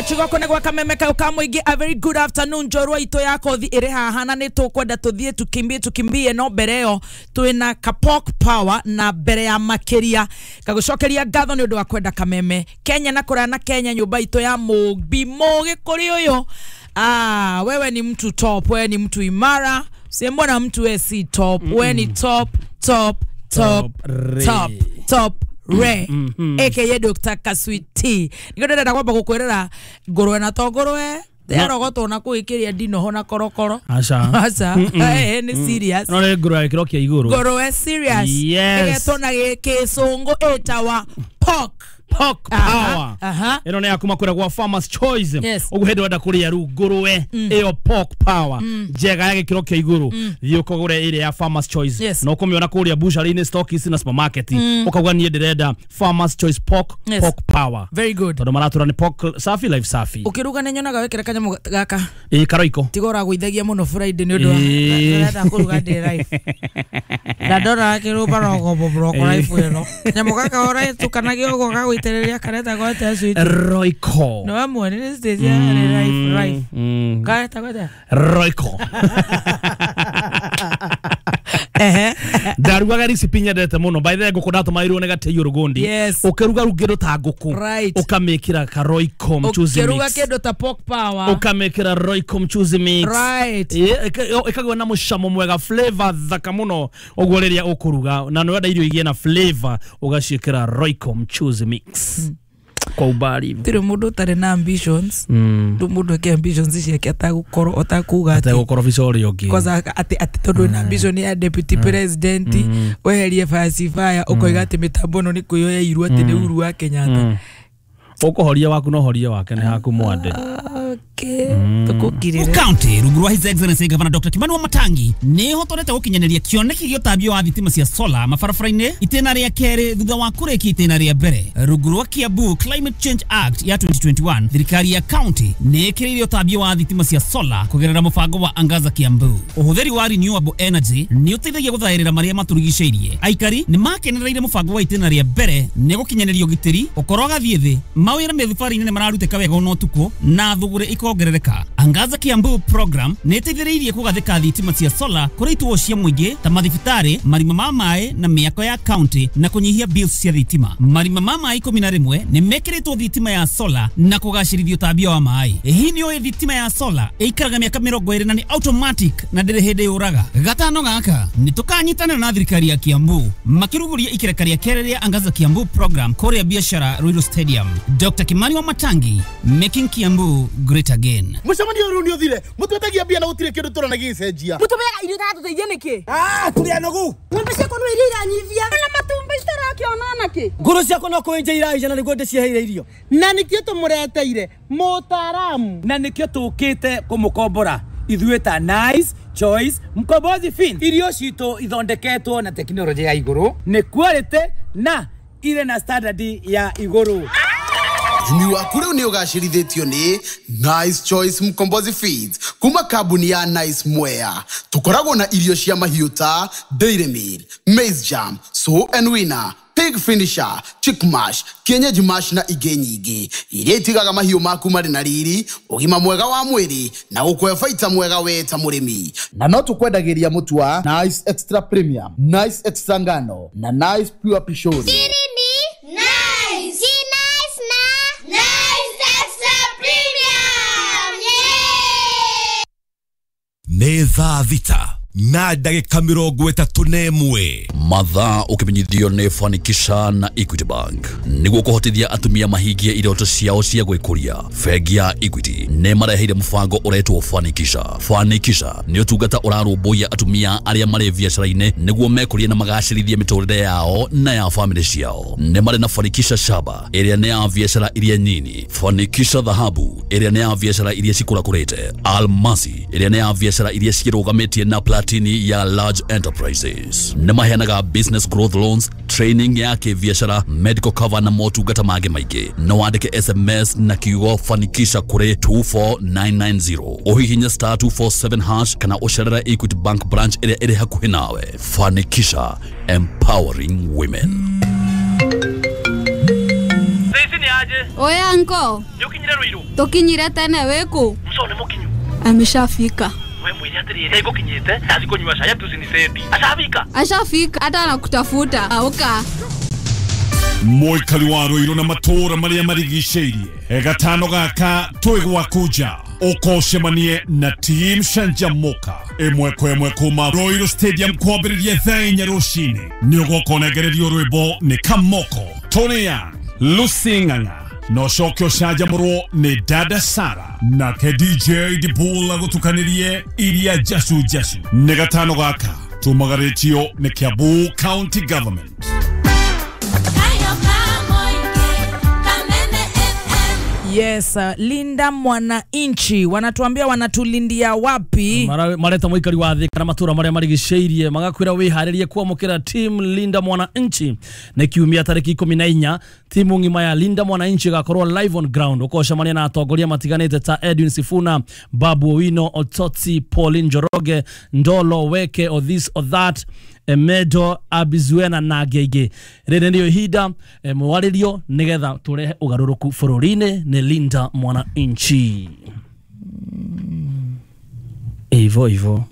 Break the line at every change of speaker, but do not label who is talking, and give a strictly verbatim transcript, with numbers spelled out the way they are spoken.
Chigoko na gwa Kameme kau ka muingi. A very good afternoon njorua itu ya kothi iri haha na ni tukwenda tuthie tukimbie tukimbie no mbere yo twina Kapok Power na mbere ya makiria kagucokeria ngatho ni undu wa kwenda Kameme Kenya na kuria na Kenya nyumba itu ya Mugbi Mugi kuri uyu. Ah, wewe ni mtu top, wewe ni mtu imara. Simbona mtu wewe si top, mm -mm. Wewe ni top top top top top re mm -hmm. A K A Doctor Kaswiti. Niko ndĩrenda kwamba gũkwĩrĩra ngũrwe na to ngũrwe yarogotwo na kũĩkĩria ndinoho na korokoro.
Aca
aca eh nĩ serious.
No nĩ ngũrwe gĩkĩro kĩa igũrũ.
Ngũrwe serious. Ĩgetwo na gĩcũngũ ĩtawa pork.
Pork Power. Ĩno nĩ ya kuma kũrĩa gwa Farmers Choice. Ũguo hĩndĩ wenda kũrĩa rĩu ngũrwe ĩyo Pork Power njega ya gĩkĩro kĩa igũrũ, thiĩ ũkagũre ĩrĩa ya Farmers Choice. Na ũkũmĩona kũrĩa butchery-inĩ, stockist na supermarket. Ũkauga niĩ ndĩrenda Farmers Choice Pork Pork Power.
Very good.
Tondũ maratũra nĩ pork safi life safi.
Ũkĩruga nĩ nyonaga wĩkĩra kanyamũ gaka.
Ĩĩ karoiko.
Tiga ũragũithagia mũno Friday nĩ ũndũ wa ndĩrenda kũruga ndĩ life. Na ndona akĩrũmba rogo broko life ĩno. Kanyamũ gaka ũratukanagia ũguo gagũitĩrĩria kareta gwete sweet.
Roiko.
No amwe nĩ stage ya life life. Kareta gwete.
Roiko.
Ehe.
Ndarugaga recipe nyendete muno. By the way ngũkũ ndatũmairwo nĩ Gatĩi Rũgũndi. Ũkĩruga rĩu kĩndũ ta ngũkũ ũkamĩkĩra ka Royco mchuzi mix.
Ũkĩruga kĩndũ ta Pork Power
ũkamĩkĩra Royco mchuzi mix.
Right.
Ĩkagĩa na mũcamo mwega, flavor thaka mũno ũguo rĩrĩa ũkũruga na nĩwenda irio igĩe na flavor ũgaciĩkĩra Royco mchuzi mix. Kwa ubali
tiri mundu utari na ambitions ndu mundu eke ambitions ciake atagũkorwo atakuga
ati atagũkorwo ũrĩa ũngĩ
kwanza ati ati tondu na ambition ya deputy president weherie falsifier ũkoiga ati mitambo ĩno nĩ kwĩyoya irua ati nĩ Uhuru wa Kenyatta.
Ũkũhoria waku no horia wake nĩ haku mwande.
Okay, tukukirire.
County rungu rwa His Excellency Governor Doctor Kimani Wamatangi nĩ hotorete gũkinyanĩria kĩoneki gĩa ũtambia wa thitima cia solar mabarabara-inĩ itĩna rĩa kerĩ thutha wa kũrĩkia itĩna rĩa mbere. Rungu rwa Kiambu Climate Change Act ya twenty twenty-one thirikari ya county nĩ ĩkĩrĩire ũtambia wa thitima cia solar kũgerera mũbango wa Angaza Kiambu. Ũhũthĩri wa renewable energy nĩ ũteithagia gũthaĩrĩra marĩa matũrigicĩirie. Aikari nĩ makenereire mũbango wa itĩna rĩa mbere nĩ gũkinyanĩria ũgitĩri ũkorwo gathiĩ thĩ mawĩra mĩthibarĩ-inĩ nĩ mararutĩka wega ona ũtukũ na thũgũrĩ ikongerereka. Angaza Kiambu program nĩ ĩteithĩrĩirie kũgathĩka thitima cia solar kũrĩ ituo cia mũingĩ ta mathibitarĩ, marima ma maĩ na mĩako ya county na kũnyihia bills cia thitima. Marima ma maĩ ikũmi na rĩmwe nĩ mekĩrĩtwo thitima ya solar na kũgacĩrithia ũtambia wa maĩ. Hihi nĩ ũĩ thitima ya solar ĩikaraga mĩaka mĩrongo ĩrĩ na nĩ automatic na ndĩrĩ hĩndĩ yũraga. Gatano gaka nĩ tũkanyitanĩra na thirikari ya Kiambu makĩrugũria ikereka rĩa kerĩ rĩa Angaza Kiambu program kũrĩa biashara Ruiru Stadium. Doctor Kimani Wamatangi, making Kiambu great again.
Mucemanio rĩu nĩ ũthire mũtwetagia mbia na gũtirĩ kĩndũ tũrona gĩgĩcenjia.
Mũtũmeaga irio iratũteithia nĩkĩ?
Ah, tũrĩ anogu.
Ng'ombe ciakwa no iria iranyivia na matumbĩ citarakĩona nakĩ.
Ngũrũ ciakwa no kũenja iraija na nĩguo ndĩciheire irio.
Na nĩkĩo tũmũreteire mũtaaramu.
Na nĩkĩo tũkĩte kũmũkombora ithuĩ ta Nice Choice Mkombozi Fin. Irio citũ ithondeketwo na tekinoronjĩ ya igũrũ, nĩ quality na irĩ na standard ya igũrũ.
Ũrĩmi waku rĩu nĩ ũgacĩrithĩtio nĩ Nice Choice Mkombozi Feeds kuma kambuni ya Nice Mwea. Tũkoragwo na irio cia mahiũ ta Dairy Meal, Maize Jam, Sow and Winner, Pig Finisher, Chick Mash, Kienyeji Mash na ingĩ nyingĩ iria itigaga mahiũ maku marĩ na riri, ũgima mwega wa mwĩrĩ na gũkũhe baita mwega we ta mũrĩmi. Na no tũkwendagĩria mũtu wa Nice Extra Premium, Nice Extra Ngano na Nice Pure Pishori.
Nĩ thaa thita na ndagĩka mĩrongo ĩtatũ na ĩmwe.
Mathaa ũkĩmenyithio nĩ Fanikisha na Equity Bank nĩguo kũhotithia atumia mahingie iroto ciao cia gwĩkũria. Bengi ya Equity nĩ mareheire mũbango ũretwo Fanikisha. Fanikisha nĩ ũtungata ũrarũmbũiya atumia arĩa marĩ biacara-inĩ nĩguo mekũrie na magacĩrithie mĩtũrĩre yao na ya famĩlĩ ciao. Nĩ marĩ na Fanikisha Shaba ĩrĩa nĩ ya biacara iria nyini, Fanikisha Dhahabu ĩrĩa nĩ ya biacara iria cikũrakũrĩte, Almasi ĩrĩa nĩ ya biacara iria cirũgamĩtie na platini ya large enterprises. Nĩ maheanaga business growth loans, training ya kĩbiacara, medical cover na motungata mangĩ maingĩ. No wandĩke S M S na kiugo Fanikisha kũrĩ two four nine nine zero, ũhihinye star two four seven hash kana ũcerere Equity Bank branch ĩrĩa ĩrĩ hakuhĩ nawe. Fanikisha, empowering women.
Thaici nĩ
Oya anko.
Nĩũkinyire Ruiru?
Tukinyire tene wĩkũ?
Mco nĩ mũkinyu.
Ameshafika.
We mwĩre atĩrĩrĩ ngũkinyĩte ndathi kũnyua cai atucinisendi. Ashafika.
Ashafika hata anakutafuta. Auka.
Mũikari wa Ruiru na matũũra marĩa marigicĩirie gatano gaka twĩ gwaku nja ũkocemanie na team Canjamuka ĩmwe kwa ĩmwe kuma Ruiru Stadium kwambĩrĩria thaa inya rũcinĩ. Nĩ ũgoka ũnengererio rwĩmbo nĩ Kamoko, Tony Young, Lucy Ng'ang'a na ũcoke ũcanjamũrwo nĩ Dada Sara nake D J Dibul agũtukanĩrie iria njacu njacu. Nĩ gatano gaka tumagarĩtio nĩ Kiambu County Government.
Yes, uh, Linda Mwananchi wanatuambia wanatulindia wapi?
Mareta mũikari wa thĩ kana matũra marĩa marigicĩirie magakwĩra wĩharĩrie kwamũkĩra team Linda Mwananchi nĩ kiumia tarĩki ikũmi na inya. Timu ng'ima ya Linda Mwananchi ĩgakorwo live on ground ũkocemania na atongoria matiganĩte ta Edwin Sifuna, Babu Owino, Ototsi, Pauline Njoroge, Ndolo Weke, or this or that, Emedo Abizuena na angĩ. Rĩrĩ nĩrĩo ihinda mwarĩrio nĩgetha tũrehe ũgarũrũku bũrũri-inĩ. Nĩ Linda Mwananchi. Ivo ivo.